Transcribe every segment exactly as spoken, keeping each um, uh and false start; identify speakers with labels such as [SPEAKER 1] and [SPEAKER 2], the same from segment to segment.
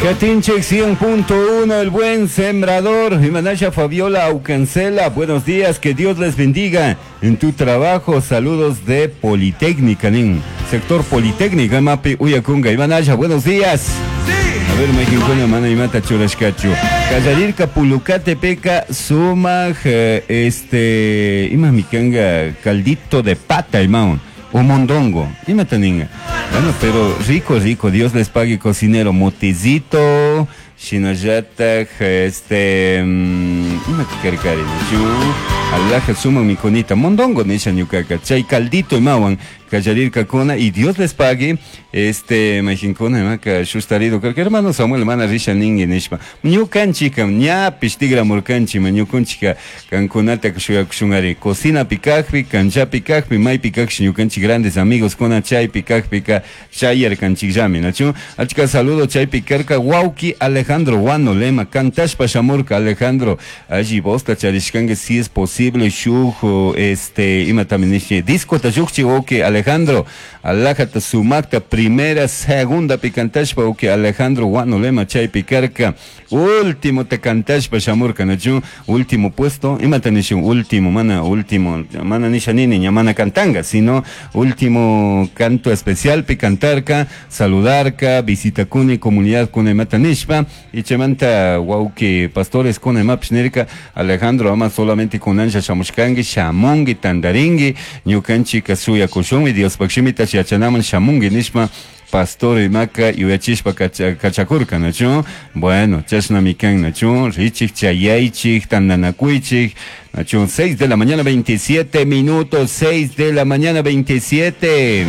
[SPEAKER 1] Catinchek cien punto uno, el buen sembrador. Imanasha Fabiola Aucancela, buenos días, que Dios les bendiga en tu trabajo. Saludos de Politécnica, nin. Sector Politécnica, Mapi Uyakunga. Imanasha, buenos días. A ver, Mexincuna, mana imata churashkachu. Kallarirka Pulucatepeca, sumaj, este, ima mikanga, caldito de pata, imaun. O mondongo, imata ninga. Bueno, pero rico, rico, Dios les pague, cocinero, motecito, shinayata, este, ima tikarkari, chu, alaja suma mikonita, mondongo nisha ñukaka, chay caldito imawan, kallarirka kuna, y Dios les pague, este, majinkuna, imaka, shustarido, creo que hermano Samuel, mana risha ningi nishpa, ñukanchika, ñapish tigra murkanchi, ma ñukunchika, kankunata shuyakushungari, cocina pikajpi, cancha pikajpi, may pikajpi, ñukanchi grandes amigos, kuna chay pikajpika, chayar kanchikllami, nachu, achka saludo chay pikarka, wauki Alejandro Guano Lema, kantashpa shamurka Alejandro, allí bosta charishkangue, si es posible, shujo, este, ima también nishi, disco tayukchi, wauki Alejandro, alajata sumakta, primera, segunda picantashpa, wauki Alejandro Guano Lema, chay pikarka, último te cantashpa shamurka, nachu, último puesto, ima tanishi, último, mana, último, mana nisha nini, ña mana cantanga, sino último canto especial, picantarka, saludarka, visita kuni, comunidad kune matanishpa, y chemanta, wauki, pastores kune mapshnirka, Alejandro, ama solamente kunanja shamushkangi, shamungi, tandaringi, ñukanchika suya kushumi, Dios pakshimita yachanaman shamungi nishpa, pastor imaka yuyachishpa kachakurka, nachu, bueno, chashnamikan, nachu, richik, chayaychik, tandanakuychik, nachu, seis de la mañana veintisiete minutos, seis de la mañana veintisiete.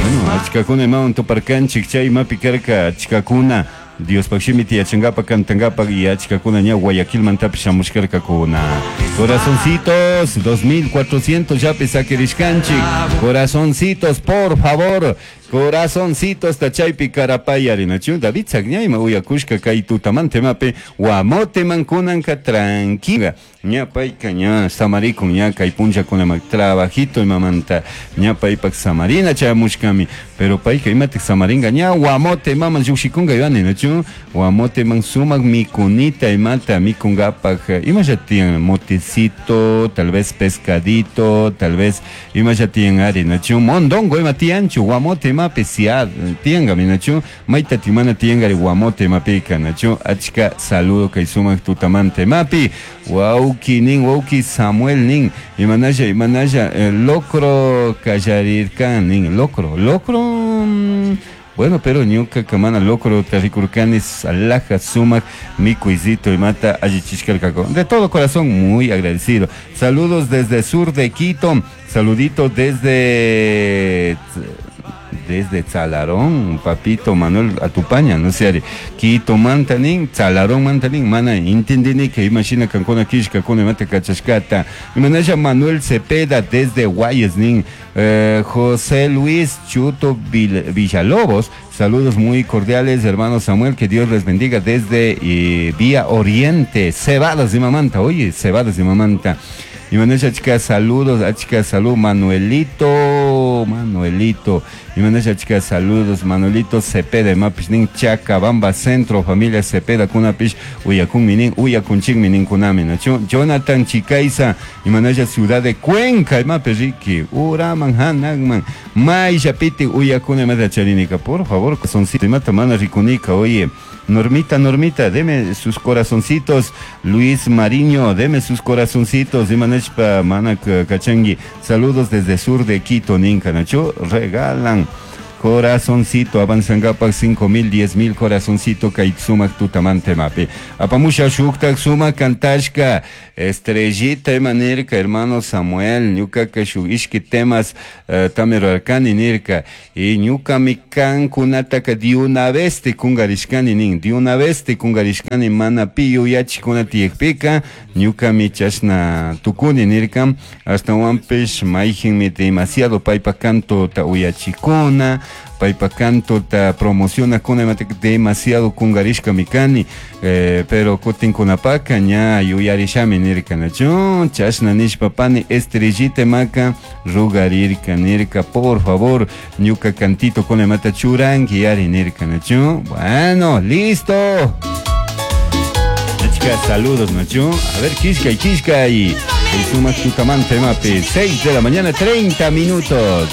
[SPEAKER 1] Bueno, achkakuna imawan tuparkanchik, chay imapi karka, achkakuna, Dios pakshimiti yachangapa, cantangapa, y achkakuna ña Guayaquilmantapish shamushkarkakuna. Corazoncitos, dos mil cuatrocientos ya pesakirishkanchik. Corazoncitos, por favor. Corazoncitos, tachaypi karapayari, nachu, David Sagñayma uyakushka kay tutamante mape, guamote mankunanka tranquila. Ña payka ña samarikun ña kay punllakunama trabajito imamanta ña paypak samarina chayamushkami, pero payka imatik samaringa ña guamote maman llukshikunga yuani, nachu, guamote man sumak mikunita imata mikungapak, ima ya tiyan motecito, tal vez pescadito, tal vez ima ya tiyan ari, nachu, mondongo ima tiyanchu, guamote mape siad, tianga mi nachu, maita timana tiangari guamote mapika, nachu, achka saludo kay sumak tutamante mapi, wauki nin, wauki Samuel nin, imanaya, imanaya, eh, locro kallarirkan nin, locro, locro, mm, bueno, pero ñuka kamana locro terricurcanis, alaja, sumac, mikuizito y mata, allichishkalkako. De todo corazón, muy agradecido. Saludos desde sur de Quito, saludito desde... desde Tzalarón, papito Manuel Atupaña, no sé, Quito Mantanín, Tzalarón Mantanín, mana, entendí que imagina cancona kishka, con mate cachascata, imanaya Manuel Cepeda desde Guayesnín, eh, José Luis Chuto Villalobos, saludos muy cordiales, hermano Samuel, que Dios les bendiga desde eh, Vía Oriente, Cebadas de Mamanta, oye, Cebadas de Mamanta. Y Manuel Chica, saludos, chica, salud, Manuelito, Manuelito. Y Manuel Chica, saludos, Manuelito Cepeda, Mapishnin, Chacabamba Centro, familia Cepeda, Kunapish, Uyakun Minin, Uyakunchik Minin Kunami, Nacho, Jonathan Chicaiza, y Manuel Ciudad de Cuenca, Mapiriki, Uraman, Hanagman, Maya Piti, Uyakuna, Mata Charinica, por favor, soncito, Mata Mana Ricunica, oye. Normita, Normita, deme sus corazoncitos. Luis Mariño, deme sus corazoncitos. Imanechpa, Mana Cachangui. Saludos desde sur de Quito, Ninca, Nacho. Regalan corazoncito, avanzangapak cinco mil, diez mil corazoncito, kaitsumak tutamante mape. Apamusha shuktak sumak kantashka, estrellita emanerka, hermano Samuel, ñukaka shuk ishki temas uh, tamero arkani nirka, y ñuka mikan kunataka di una vez te kungarishkani nin, di una vez te kungarishkani mana piyu yachikuna tiyekpika, ñuka mi chashna tukuni nirka, hasta wampish maijinmi demasiado paypa canto ta uyachikuna, Paypa cantota promociona kuna demasiado kungarishkami kani, eh, pero kutin kunapaka ña yuyarishami nirka, nachu? Chashna nishpa pani Estrellita maka rugarirka nirka, por favor, ñuka cantito kuna mata churanki yari nirka, nachu? Bueno, listo. Chicas, saludos, nachu. A ver, Kishka y Kishka y el sumak tutamanta imapi. seis de la mañana, treinta minutos.